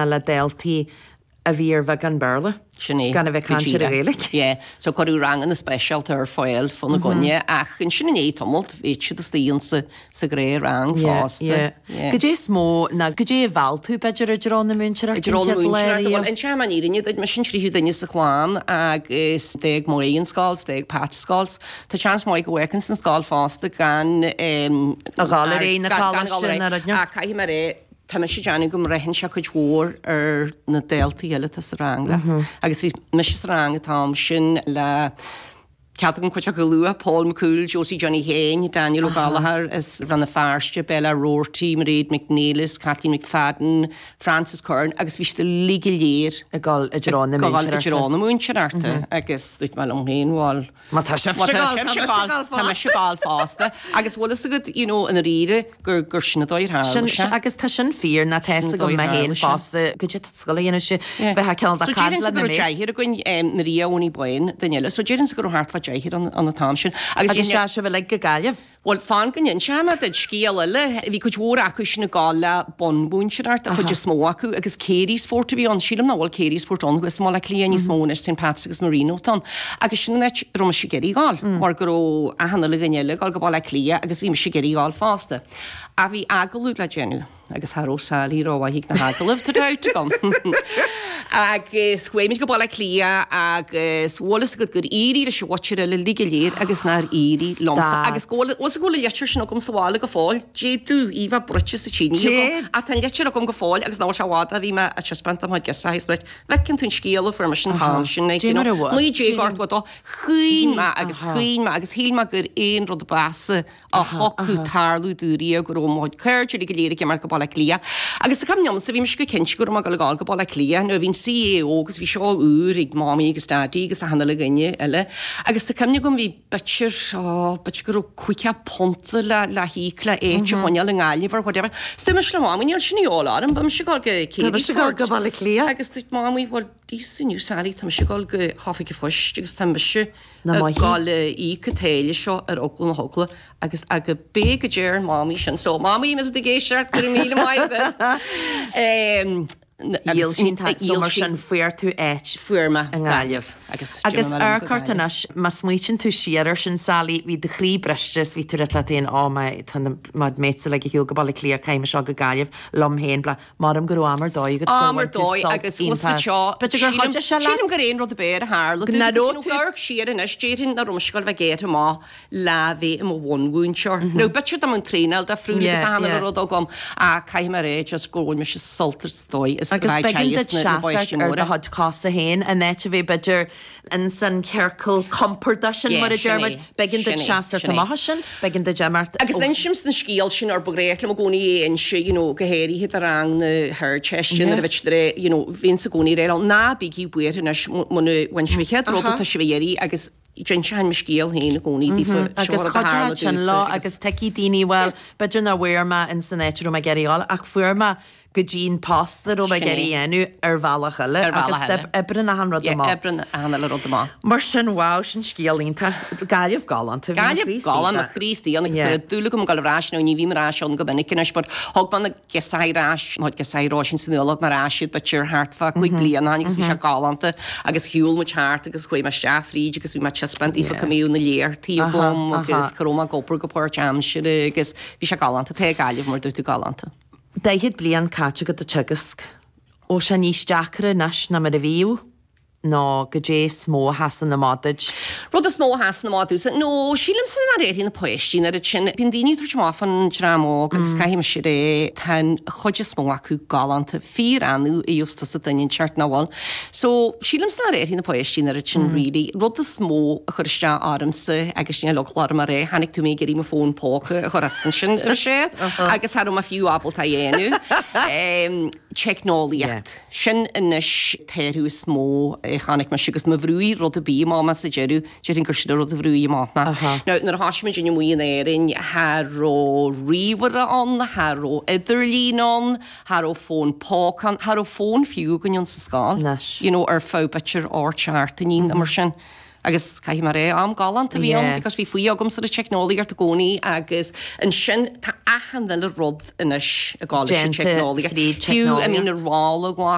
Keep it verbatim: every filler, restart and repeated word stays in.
Le daltaí a bhí ar bheagán Béarla. Sin é. Gan a bheith go caint ar díreach. Ghaeilge. Yeah, so cuireadh ranganna speisialta ar fáil fána gcoinne, ach ansin i ndiaidh tamaill bhí siad istigh insa sa ghnáthrang fosta. Yeah. Yeah. Goidé is mó ná goidé a mheall tú b'fhéidir i dtreo na múinteoireachta I dtreo na an chéad lá múinteoireachta, riamh? Bhuel, inseoidh mé an fhírinne duit, mise an tríú duine sa chlann agus d'fhág Maí an scoil, 's d'fhág Pat scoil. Tá seans maith go bhféachann san scoil fosta gan A ghabháil ar aghaidh na gan- gan coláiste ghabháil ar ná aghaidh. rud ná. Ach caithfidh mé a rá, tá mise ag déanamh go mbraitheann sé cuid mhór ar na daltaí eile atá sa rang leat. Agus bhí mise sa rang an t-am sin le cead agam cuid acu a lua, Paul McCool, Josie Johnny Hain, Daniel Ó Gallchóir as Rann na Feirste, Bella Roarty, Mairead McNeilis, Kathleen McFadden, Francis Curran, agus bhí siad uilig go léir Ag dul i dtreo na ag dul i múinteoireachta. dtreo na múinteoireachta agus dúirt mé liom féin, bhuel, Má tá sibhse Má tá ag dul, sibhse tá ag mise dul, ag dul tá mise ag dul fosta. Agus bhfuil fhios agat, you know, ina ríre gur gur sin an dóigh ar tharla Sin, sé. agus tá sin fíor ná tá Sin fhios agam dóigh mé ar féin tharla sé. fosta go dtí tá scoil a dhéanamh sé bheith cineál de So caint déarfainnse le go na raibh mates. deichniúr againn, em, Maria Owenie Boyne, duine eile. So déarfainnse go raibh thart fá deichniúr an an t-am sin. Agus Agus dhéanamh- sé sibh uilig go Gaillimh. Bhuel, fan go n-inseoidh mé duit scéal eile. Bhí cuid mhór acu sin ag gabháil le bunmhúinteoireacht, an chuid is mó acu, agus Carysfort a bhí ann. Sílim nach bhfuil Carysfort ann thuas i mBaile Átha Cliath níos mó anois, Saint Pat's agus Marino atá ann. Agus sin an áit a raibh mise ag iarraidh ghabháil, mar go raibh achan uile dhuine eile ag gabháil go Baile Átha Cliath agus bhí mise ag iarraidh ghabháil fosta. Ach bhí agallamh le déanamh agus cha raibh Sally rómhaith ag na hagallaimh, tá dabht agam. Agus chuaigh muid go Baile Átha Cliath agus bhfuil fhios agat gur éirigh leis an mhuintir eile uilig go léir agus nár éirigh liomsa. Stad. Agus go bhfuil fhios go bhfuil an litir sin agam sa bhaile go fóill. D'fhéadfadh í bheith bruite sa tine agam. Déad. Ach tá an litir agam go fóill agus nach bhfuil sé i bhfad a bhí mé ag taispeáint dom chuid girseachaí is dúirt, bhfeiceann tú an scéal a fuair mise an t-am sin, like, you Dé mar know, a bhfuil. naoi déag ochtó a dó. Chaoin mé agus Aha. chaoin mé agus shíl mé gur aon rud ab mheasa a thiocfadh tarlú domh riamh go raibh mo chuid cairde uilig go léir ag imeacht go Baile Átha Cliath. Agus tá cuimhne agamsa, bhí mise go cinnte go raibh mé ag dul go Baile Átha Cliath, nó bhí an C A O agus bhí seo úr ag Mamaí agus Daidí agus achan uile dhuine eile. Agus tá cuimhne agam bhí b'fhéidir, ó, b'fhéidir go raibh caoga punt le le híoc le áit a choinneáil i nGaillimh or whatever. So dúirt mise le Mamaí, níl sin de dhíobháil orm, beidh mise ag dul go Tá mise ag dul go Carysfort. Baile Átha Cliath. Agus dúirt Mamaí, bhuel, Íosa inniu Sally, tá mise ag dul go hOifig an Phoist agus tá mise Na ag maithe. dul a íoc an táille seo ar eagla na heagla agus aga bé go deir Mamaí sin. So Mamaí, má tá tú ag éisteacht, go raibh míle maith agat. Em, Dhíol sin agus so dhíol mar sí sin fuair tú áit fuair mé i nGaillimh. Agus Agus d'imigh mé liom go amharc ort Gaillimh. anois, má smaoitíonn tú siar ar sin Sally, bhí do chroí briste is bhí tú rite leat féin, ó má tá na má mates uilig ag shiúl go Baile Átha Cliath, caithfidh mise go Gaillimh liom féin, bla. Maram go raibh am ar dóigh agat gur Am ar bhain tú dóigh sult agus bhfuil iontach. seo B'fhéidir gur chuidigh sé leat. Sílim gur aon rud ab fhearr a tharla Go dom, raibh nó tú- gur siar anois déarfainn nach raibh mise ag dul bheith géar amach le bheith i mo bhunmhúinteoir. Nó b'fhéidir dá mbeadh an traenáil difriúil agus Yeah, achan yeah. uile rud agam ach caithfidh mé a rá just go bhfuil mise sult ar dóigh is Agus bheith b'éigean duit na na seasamh páistí ar do móra. chuid cosa féin an áit a bheith b'fhéidir in san ciorcal compordach sin Yeah, mar a sin deir muid, é, b'éigean duit sin é, seasamh sin é. amach sin, b'éigean duit imeacht. Agus insim san scéal sin ar ba ghnách liom i gcónaí é a inse, you know, go háirithe do rang na hArdteiste nuair a bhí siad, you know, bhíonn sa gcónaí rá ná bígí buartha anois muna bhain sibh an chéad rud atá sibh a iarraidh agus d'inseoinn mo scéal féin i gcónaí daofa seo Agus rud a tharla chuidigh sin domhsa leo agus agus tuigfidh daoine well b'fhéidir nach bhfuair mé in san áit a raibh mé ag iarraidh dul ach fuair mé go dtí an post a raibh mé ag Sin é. iarraidh dhéanamh ar bhealach eile Ar bhealach agus eile. oibreann achan rud Yeah, amach. oibreann achan uile rud amach. Mar sin wow sin scéal iontach Gaillimh galánta bhí Gaillimh Chríost galán iontach. Chríostaí agus Yeah. tá dúil agam dul ar ais nó ní bhím ar ais ann go minic anois, but thug mé na girseachaí ar ais mo girseachaí Róisín is Fionnuala thug mé ar ais iad b'fhéidir thart fá cúig bliana agus bhí sé galánta agus shiúil muid thart agus chuaigh mé isteach fríd agus bhí mé taispeáint daofa Yeah. go mbíodh na léachtaí Aha, agam aha. agus go raibh mé ag obair go páirtaimseartha agus bhí sé galánta tá Gaillimh mar dúirt tú galánta. Daichead bliain caite agat ag teagasc. Ó sé níos deacra anois ná mar a bhíodh nó goidé is mó a sheasann amach duit. Rud is mó a sheasann amach domhsa, nó sílimse nár éirigh na páistí nuair sin bíonn daoine ag tabhairt amach fán dream óg agus caithfidh mise a rá tá an chuid is mó acu galánta fíor-annamh a gheobhas tusa duine inteacht nach bhfuil. So sílimse nár éirigh na páistí nuair sin really. Rud is mó a chur isteach ormsa agus níl eagla orm a rá, chonaic tú mé ag iarraidh mo fón póca a chur as ansin ar sé agus cha raibh mé fiú ábalta a dhéanamh. Um, Teicneolaíocht. Sin anois an t-athrú is mó a chonaic mise agus má bhrúigh rud ar bith amach mé sa deireadh, déarfainn gur sin an rud a bhrúigh amach mé. Now, nuair a thosaigh muid amuigh in Éirinn, cha raibh ríomhaire ann, cha raibh idirlíon ann, cha raibh fón póca ann, cha raibh fón fiú againn ann sa scoil. Anois. You know, ar feadh b'fhéidir ocht seachtainí nó mar sin. Agus caithfidh mé a rá am galánta bhí ann because bhí faoi agamsa ar teicneolaíocht i gcónaí agus ansin tá achan uile rud anois ag gabháil leis an teicneolaíocht. Fiú I mean a rolla